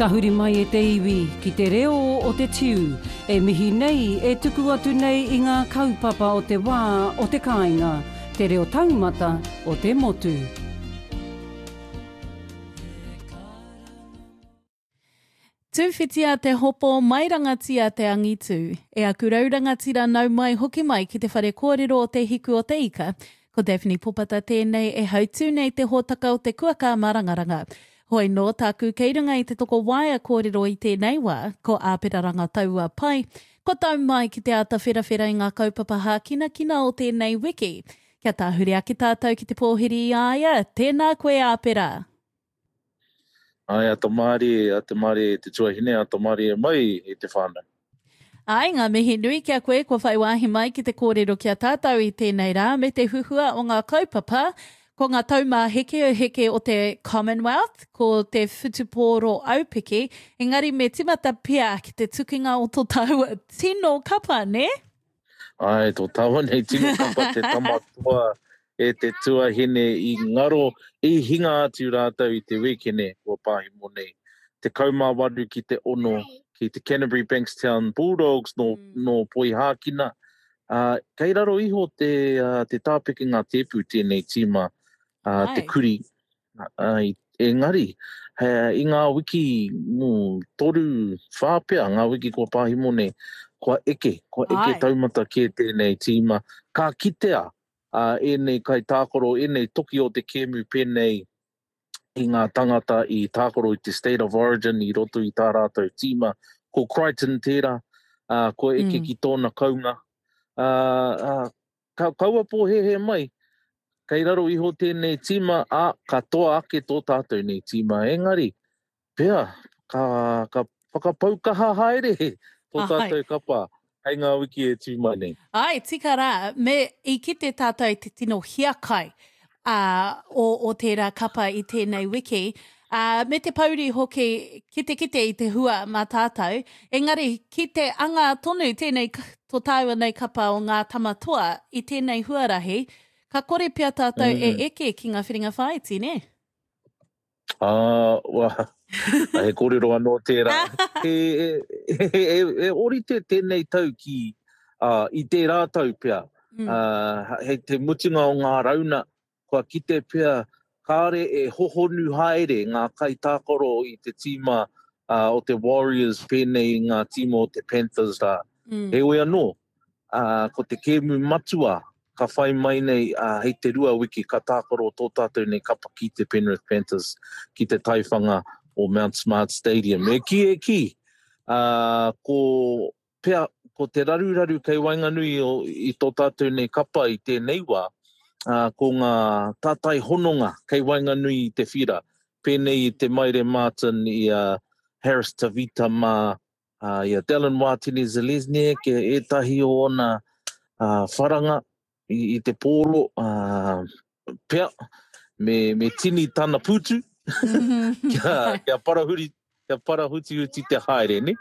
Tahuri mai e te iwi ki te reo o te tiu e mihi nei, e tuku atu nei i ngā kaupapa o te wā o te kāinga, te reo taumata o te motu. Tūwhitia te hopo, mairangatia te angitū. E aku rau rangatira nau mai hoki mai ki te whare kōrero o Te Hiku o te Ika. Ko Daphne Popata tēnei e hautū nei te hōtaka o te kuaka marangaranga. Hoi nō tāku kei runga i te tokowaea kōrero i tēnei wā, ko Āpera Rangataua Pai, kua tau mai ki te āta wherawhera i ngā kaupapa hākinakina o tēnei wiki. Kia tāhure ake tātou ki te pōhiri i a ia, tēnā koe Āpera! Āe, a Tamārie, a Te Mārie te tuahine, a Tamārie mai e te whānau. Āe, ngā mihi nui ki a koe kua whai wāhi mai ki te kōrero ki a tātou i tēnei rā me te huhua o ngā kaupapa, ko ngā taumāhekeheke o te Commonwealth, ko te whutupōro aupiki, engari me timata pea ki te tukinga o tō tāua tino kapa, nē? Āe, tō tāua nei tino kapa te tama toa e te tuahine i ngaro, i hinga atu rātou i te wīkene kua pāhemo nei. 18 ki te 6 ki te Canterbury Bankstown Bulldogs nō, mm. nō Poihākina. Uh, kei raro iho te, uh, te tāpekenga tēpu tēnei tīma, uh, te kuri, Ai, engari, he, i ngā wiki mm, toru, whā pea, ngā wiki kua pāhimo nei, kua eke, kua eke Ai. taumata kē tēnei tīma. Ka kitea uh, ēnei kaitākaro, ēnei toki o te kēmu pēnei i ngā tangata i tākaro i te State of Origin i roto i tā rātou tīma. Ko Crichton tērā, uh, kua eke mm. ki tōna kounga. Uh, uh, Ka, kaua pōhēhē mai, kei raro iho tēnei tīma, ā, ka toa ake tō tātou nei tīma. Engari, pea, ka, ka whakapau kaha haere tō tātou kapa hei ngā wiki e tū mai nei. Āe, tika rā, me i kite tātou i te tino hiakai ā, o, o tērā kapa i tēnei wiki, ā, me te pouri hoki ki te kite i te hua mā tātou, engari ki te anga tonu tēnei tō tāua nei kapa o ngā tama toa i tēnei huarahi, ka kore pea tātou mm. e eke ki ngā whiringa whāiti, nē? Ā, wā, he kōrero anō tērā. He, he, he, he, he orite tēnei tau ki, uh, i tērā tau pea. Mm. Uh, hei te mutunga o ngā rauna, kua kite pea kāre e hohonu haere ngā kaitākaro i te tīma uh, o te Warriors pēnei i ngā tīma o te Panthers rā. Mm. Heoi anō, uh, ko te kēmu matua ka whai mai nei uh, hei te rua wiki ka tākaro tō tātou nei kapa ki te Penrith Panthers ki te taiwhanga o Mount Smart Stadium. E kī, e kī, uh, ko pea ko te raruraru kei waenganui o, i tō tātou nei kapa i tēnei wā, uh, ko ngā tātai hononga kei waenganui i te whira, pēnei i te Maire Martin, i a uh, Harris Tavita mā, uh, i a Dallin Wātene Zelezniak, e ētahi o ona uh, wharanga i, i te pōro, uh, pea, me, me tini tana pūtu, kia, kia parahuri, kia parahutihuti te haere, ne?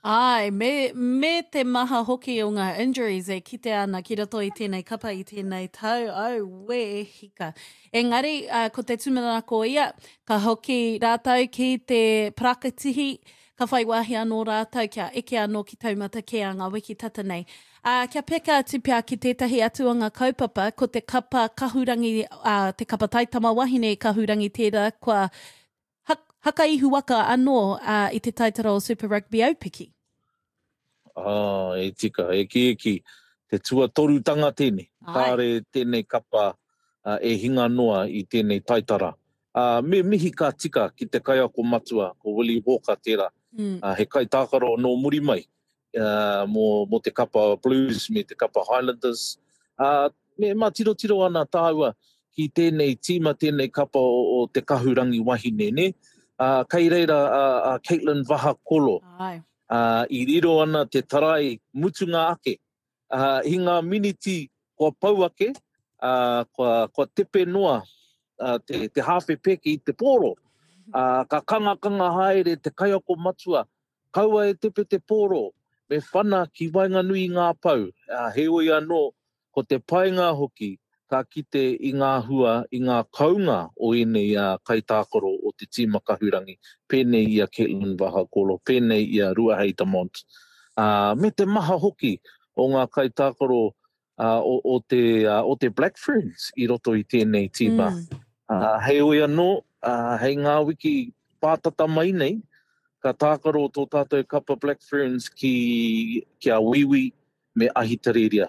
Āe, me, me te maha hoki o ngā injuries e kitea ana ki roto i tēnei kapa i tēnei tau, auē hika. Engari, uh, ko te tūmanako ia, ka hoki rātou ki te parakatihi, ka whai wāhi anō rātou kia eke anō ki taumata kē a ngā wiki tata nei. Ā, kia peka atu pea ki tētahi atu o ngā kaupapa, ko te kapa kahurangi, ā, te kapa taitama wahine kahurangi tērā kua haka ihu waka anō ā, i te taitara o Super Rugby Aupiki. Ā, e tika, e kī, e kī, te tuatorutanga tēnei. Kāre tēnei kapa e hinga noa i tēnei taitara. Ā, me mihi ka tika ki te kaiako matua, ko Willie Walker tērā, mm. ā, he kaitākaro nō muri mai ā, mō, mō te kapa Blues me te kapa Highlanders. Ā, me mātirotiro ana tāua ki tēnei tīma, tēnei kapa o, o te kahurangi wahine, nē? Ā, kei reira a, a Caitlin Vahakolo. Ai. Ā, i riro ana te tarai mutunga ake ā, i ngā miniti kua pau ake, ā, kua, kua tepe noa ā, te, te hāwhe pēke i te pōro. Ā, ka kangakanga haere te kaiako matua, kaua e tepe te pōro, me whana ki waenganui i ngā pou. Ā, heoi anō, ko te painga hoki, ka kite i ngā hua, i ngā kounga o ēnei ā, kaitākaro o. te tīma kahurangi, pēnei i a Caitlin Vahakolo, pēnei i a Ruahei Demant, ā, me te maha hoki o ngā kaitākaro o, o, te, o te Black Ferns i roto i tēnei tīma. Mm. Uh, heoi anō, uh, hei ngā wiki pātata mai nei, ka tākaro tō tātou kapa Black Ferns ki, ki a Wīwī me Ahitereiria.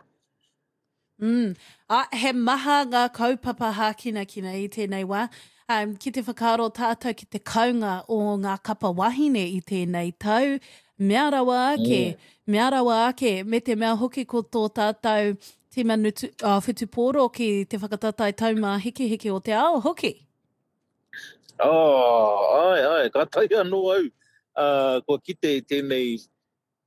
Mm. Ah, he maha ngā kaupapa hākinakina i tēnei wā. Um, ki te whakaaro tātou ki te kaunga o ngā kapa wahine i tēnei tau, mea rawa ake, mm. mea rawa ake, me te mea hoki ko tō tātou tīma nutu, oh, whutupōro ki te whakataetae taumāhekeheke o te ao hoki. Oh, ai, ai, kātahi anō au uh, kua kite i tēnei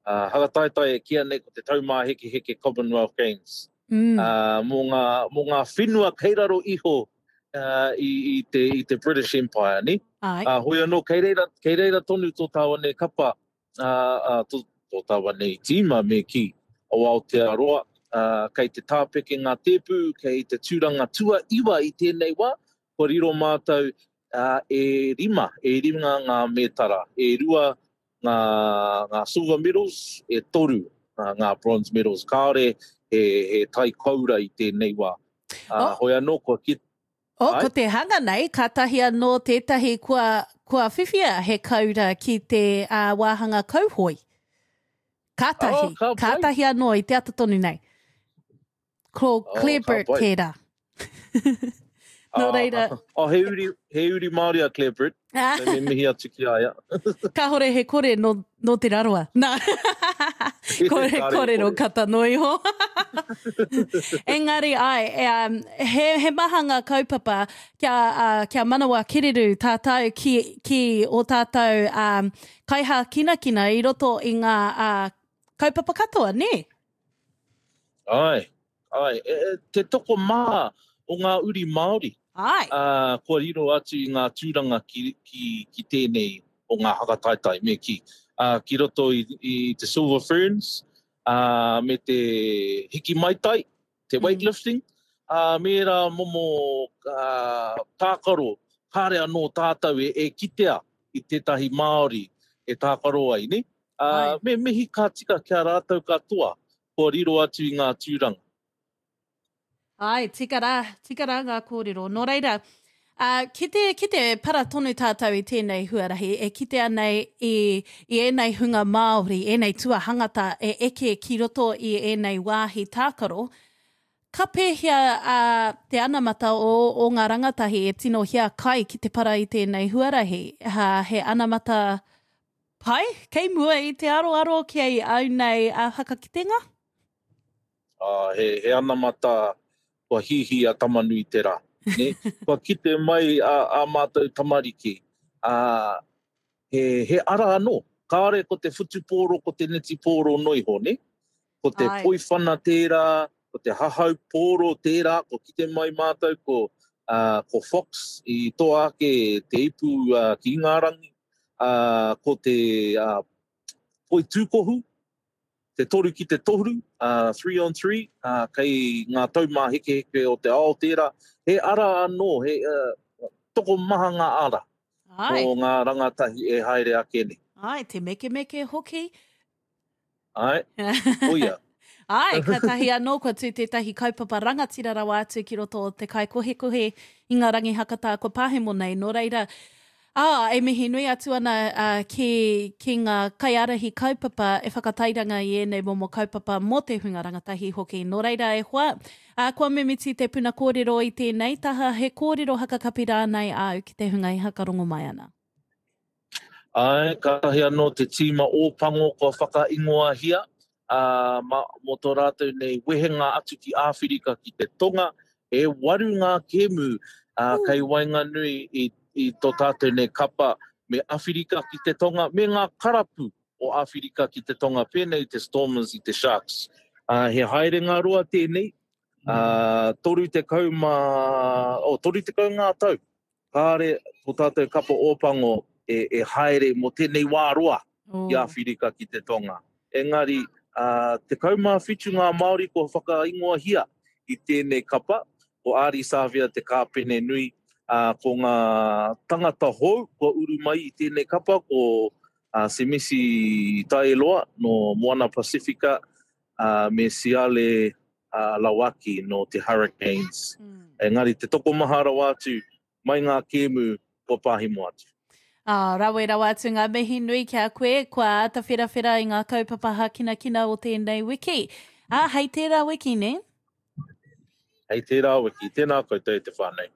Ā, whakataetae e kīia nei ko te Taumāhekeheke Commonwealth Games. Mm. Ā, mō ngā, mō ngā whenua kei raro iho uh, i, i, te, i te British Empire, ni? Ai. Ā, hoi anō, kei reira, kei reira tonu tō tāua nei kapa, ā, ā, tō, tō tāua nei tīma me kī, o Aotearoa, ā, kei te tāpeke ngā tēpu, kei te tūranga tuaiwa i tēnei wā, kua riro mātou ā, e rima, e rima ngā mētara, e rua ngā, ngā silver medals, e toru ngā bronze medals. Kāore he, he tai koura i tēnei wā. Oh. Hoi anō, kua ki... Oh, ko te hanga nei, kātahi anō tētahi kua, kua whiwhia he koura ki te uh, wāhanga kauhoi. Kātahi, oh, ka kātahi anō i te ata tonu nei. Ko oh, Claire Burt tērā. Nō ah, reira. Oh, he uri, he uri Māori a Claire Burt. So me mihi atu ki a ia. Kāhore he kore no, no Te Rarawa. Nā. kore, kore no kata no iho. Engari, ai, e, um, he, he maha ngā kaupapa kia, uh, kia manawa kereru tātou ki, ki o tātou um, kaihākinakina i roto i ngā uh, kaupapa katoa, nē? Āe, āe. E, e, te tokomaha o ngā uri Māori. Āe. Ā, kua riro atu i ngā tūranga ki, ki, ki tēnei o ngā hakataetae, me kī. Ā, ki roto i, i te Silver Ferns, ā, me te hiki maitai, te mm. weightlifting, ā, me ērā momo ā, tākaro, kāre anō tātou e, e kitea i tētahi Māori e tākaro ai, ne? Ā, me mihi ka tika ki a rātou katoa kua riro atu i ngā tūranga. Āe, tika rā, tika rā ngā kōrero. Nō reira, ā, ki te, ki te para tonu tātou i tēnei huarahi, e kitea nei i, i ēnei hunga Māori, ēnei tuahangata e eke ki roto i ēnei wāhi tākaro, ka pēhea, ā, te anamata o, o ngā rangatahi e tino hiakai ki te para i tēnei huarahi? Ā, he anamata Pai, kei mua i te aroaro ki au nei a whakakitenga? Ah, he, he anamata kua hīhī a Tamanuiterā. Ne? Kua kite mai a, a mātou tamariki, a, he, he ara anō. Kāore ko te whutupōro, ko te netipōro no iho, ne? Ko te Ai. poiwhana tērā, ko te hahau pōro tērā, kua kite mai mātou ko, uh, ko Fox i toa ake te ipu uh, ki Ingarangi, uh, ko te uh, poitūkohu, te toru ki te toru, uh, three on three, uh, kei ngā taumāhekeheke o te ao tērā. He ara anō, he uh, tokomaha ngā ara Ai. o ngā rangatahi e haere ake nei. Ai, te mekemeke hoki. Ai, koia. Ai, kātahi anō kua tū tētahi kaupapa rangatira rawa atu ki roto o te kaikohekohe i ngā rangi hakatā kua pahemo nei. Nō reira, ā, e mihi nui atu ana ā, ki, ki ngā kaiārahi kaupapa e whakatairanga i ēnei momo kaupapa mō te hunga rangatahi hoki. Nō reira, e hoa, ā, kua mimiti te puna kōrero i tēnei taha, he kōrero hakakapi rānei āu ki te hunga e hakarongo mai ana. Āe, kātahi anō te tīma Ōpango kua whakaingoahia, ā, mā, mō tō rātou nei wehenga atu ki Āwhirika ki te Tonga, e waru ngā kēmu, ā, kei waenganui i, i tō tātou nei kapa me Awhirika ki te Tonga, me ngā karapu o Āwhirika ki te Tonga, pēnei i te Stormers, i te Sharks. Ā, he haerenga roa tēnei, ā, 30 mā, oh, 30 ngā tau Kāre tō tātou kapa Ōpango e, e haere mō tēnei wā roa ki Āwhirika ki te Tonga. Engari, ā, 17 ngā Māori kua whakaingoahia i tēnei kapa, ko Ardie Savea te kāpene nui, ā, Ā, ko ngā tangata hou kua uru mai i tēnei kapa ko Semisi Taeloa nō Moana Pasifika, ā, me Siale Lawaki nō te Hurricanes. Engari te tokomaha rawa atu mai ngā kēmu kua pāhimo atu. Ā, rawe rawa atu ngā mihi nui ki a koe, kua āta wherawhera i ngā kaupapa hākinakina o tēnei wiki. Ā, hei tērā wiki, nē? Hei tērā wiki. Tēnā koutou e te whānau.